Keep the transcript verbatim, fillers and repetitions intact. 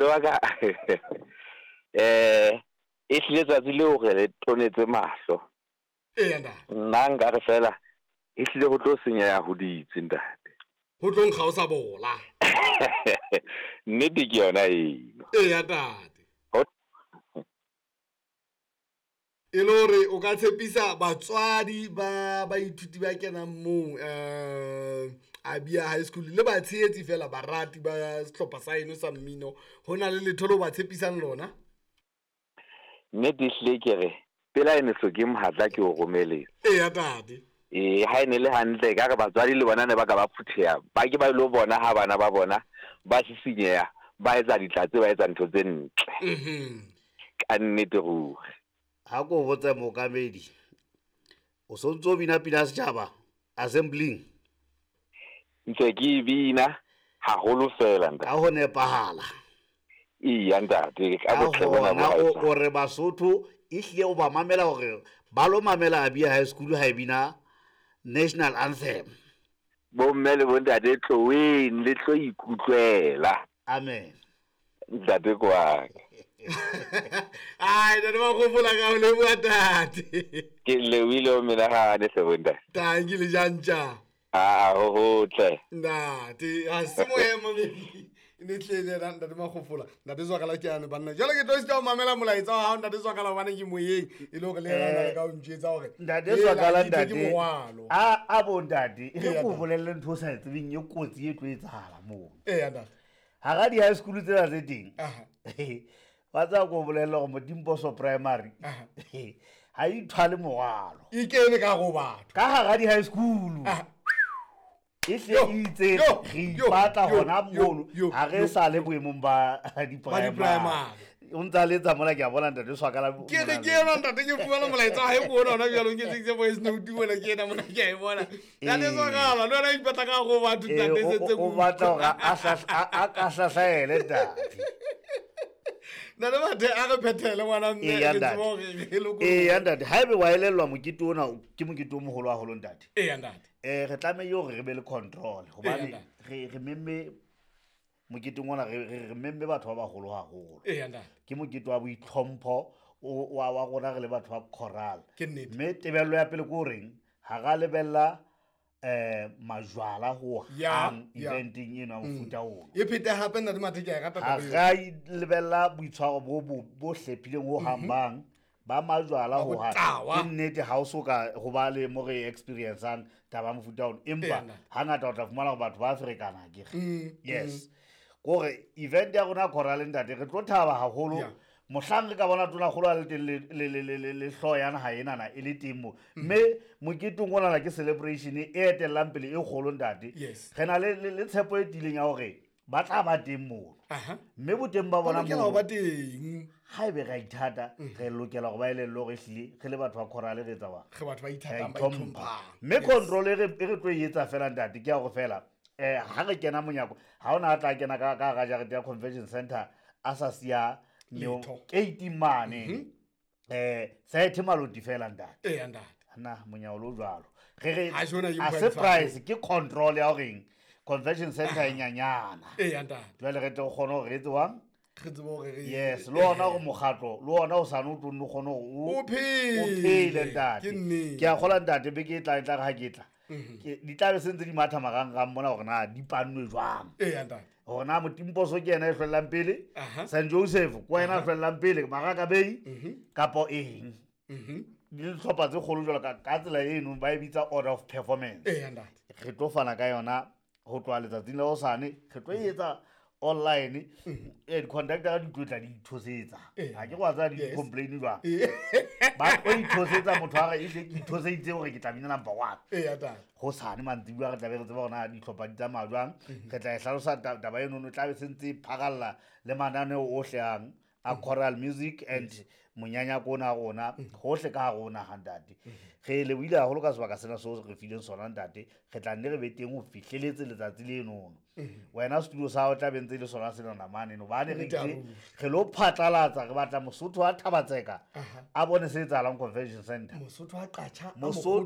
Wa ka eh e hlile tsatsi leo re le tonetse mahlo. Eya ntate. Nna nka re fela e hlile ho tlo senyeha ho ditse ntate. Ho tlo nkga o sa bola. Nnete ke yona eno. Eya ntate. E le hore o ka tshepisa batswadi ba baithuti ba kenang moo um Abia High School le batshehetsi fela barati ba sehlopha sa eno sa mmino, ho na le letho leo ba tshepisang lona? Nnete ehlile ke re pela e ne hloke mohatla ke o romeletse. Eya ntate. Ee, ha e ne le hantle ka re batswadi le bona ne ba ka ba phutheha, ba ke ba ilo bona ha bana ba bona ba sisinyeha, ba etsa ditlatse, ba etsa ntho tse ntle. Mhm. Ka nnete ruri. Ha ko botse mookamedi, o sontso o bina pina ya setjhaba assembling? Ntse ke e bina haholo fela ntate. Ka ho nepahala. Eya ntate, ka Ka botle bona bo hona o haesale. o re Basotho ehlile o ba mamela hore ba lo mamela Abia High School ha e bina national anthem. Bomme le bontate tloheng le tlo ikutlwela. Amen. Ntate kwaka. Ai, ntate Makgofola ka o leboha ntate. Ke lebohile ho menahane hle bontate. Tanki le jantja. Ah, ho hotle. Ntate, ha se moemo baby. Ne tlele ena ntate Makgofola. Ntate Zwakala ke yane banna. Jwale ke tlo sita ho mamela molaetsa wa hao ntate Zwakala hobane ke moyeng e le hore le yena o na le ka ho ntjwetsa hore Ntate hela, Zwakala ke itse ke ntate. morwalo. A a bo ntate, e Eya, re ko ntate. bolelle ntho o sa e tsebeng e kotsi e tlo etsahala mono. Eya ntate. Hara di-high school tsena tse teng. Aha. Wa tseba ko bolella hore Modimposo Primary Aha. ha e ithwale morwalo. E kene ka hare ho batho. Ka hara di-high school. Aha. E hle Yo, e itse yo, re yo, ipatla yo, hona yo, mono, yo, ha re yo. sa le boemong ba Ba di-primary. di-primary. O ntsa letsa mona ke a bona ntate Swakala Ke re mona ke le- ena ntate ke fumana molaetsa wa hae ko ona hona jwale o nketseditse voice note mona ke ena mona ke a e bona. Ntate Ee. Zwakala le wena o ipatla ka hare ho batho Ee, ntate o- sentse o- o ke batla utlwa. hore a hlahla- a a ka hlahlaele ntate. Ntate Mathe a re phethele ngwana mme Eya re ntate. tsebe hore re lokolohe. Eya ntate, haebe wa elellwa mokete ona ke mokete o moholo haholo ntate. Eya ntate. Eh re tlamehile hore re be le control hobane Eya, ntate. re re memme moketeng ona re re re memme batho ba baholo haholo. Eya ntate. Ke mokete wa boitlhompho o wa wa rona re le batho ba choral. Ke nnete. Mme tebello ya pele ke horeng ha ra lebella eh majwala ho Ya, hang ya. eventeng eno ya mofuta ona. E phete hape ntate Mathe ke a e rata Ha taba eo. ra lebella boitshwaro bo bo bo hlephileng ho hang bang ba majwala Ba ho hang. botawa. Ke nnete ha o so ka ho ba le mo re experience-ang taba ya mofuta ona. Empa Eya, ntate. hangata o tla fumana hore batho ba ferekana akere. Mm, Yes. Kore event ya rona ya choral ntate re tlo thaba haholo Yeah. mohlang re ka bona tonakgolo a le teng le le le le le le hlooho ya naha enana e le teng mo. Mme moketeng onana ke celebration e etellang pele e kgolo ntate. Yes. Re na le le le tshepo e tiileng ya hore ba tla ba teng mono. Aha. Mme boteng ba Ba bona lokela ho mono ba teng. haebe re a ithata re lokela hore ba elellwe hore ehlile re le batho ba choral re etsa bang. Re batho ba Re a ithatang, ba itlhompha. itlhomphang. Mme Yes. control e re e re tlo e etsa fela ntate ke ya hore fela eh ha re kena monyako ha ona a tla kena ka ka hara jarete ya convention center a sa siya neo Letho. gate mane. Eh Saethe Maloti fela ntate. Eya ntate. Na monyao lo jwalo. Re re Ha jona ke a mpho ya surprise ke control ya horeng convention center e nyanyana. Eya ntate. Jwale re tle re kgone hore re etse jwang? Re tsebe hore re Yes, le ona hore mokgatlo le ona o sane o tlo nno kgone hore o O phele. o phele ntate. Ke nnete. Ke a kgolwa ntate beke e tlang e tla re ha ke tla. Ke di tla be se ntse di matha marangrang mona hore na di pannwe jwang. Eya ntate. Hore na Motimposo ke yena e hlwellang pele, Aha. Saint Joseph ke wena a hlwellang pele, Maraka Bay kapo eng. Mhm. Di dihlopha tse kgolo jwalo ka ka tsela eno ba e bitsa order of performance. Eya ntate. Re tlo fana ka yona ho tloha letsatsing la hosane, re tlo e etsa online. Eh di-conductor di tlo tla di ithosetsa. Ee. Ha ke go a tsaya di Yes. complain jwang. Ee. Ba tlo ithosetsa motho a re ehlile ke ithoseditse hore ke tla bina number one. Eya ntate. Hosane mantsibuya re tla be re tseba hore na dihlopha di tsamaya jwang. Re tla e hlalosa ta- taba eno e tla be se ntse e pharalla le mananeo ohle ang a choral music and monyanyako ona wa rona hohle ka hare ho naha ntate. Re lebohile haholo ka sebaka sena seo re fileng sona ntate. Re tla nne re be teng ho fihleletse letsatsi lenono. Wena studio sa hao tla be ntse e le sona senana mane hobane re Nnete itse haholo. re lo phatlalatsa re batla Mosotho wa Thabatseka Aha. a bone se etsahalang convention center. Mosotho wa Qacha a Mosotho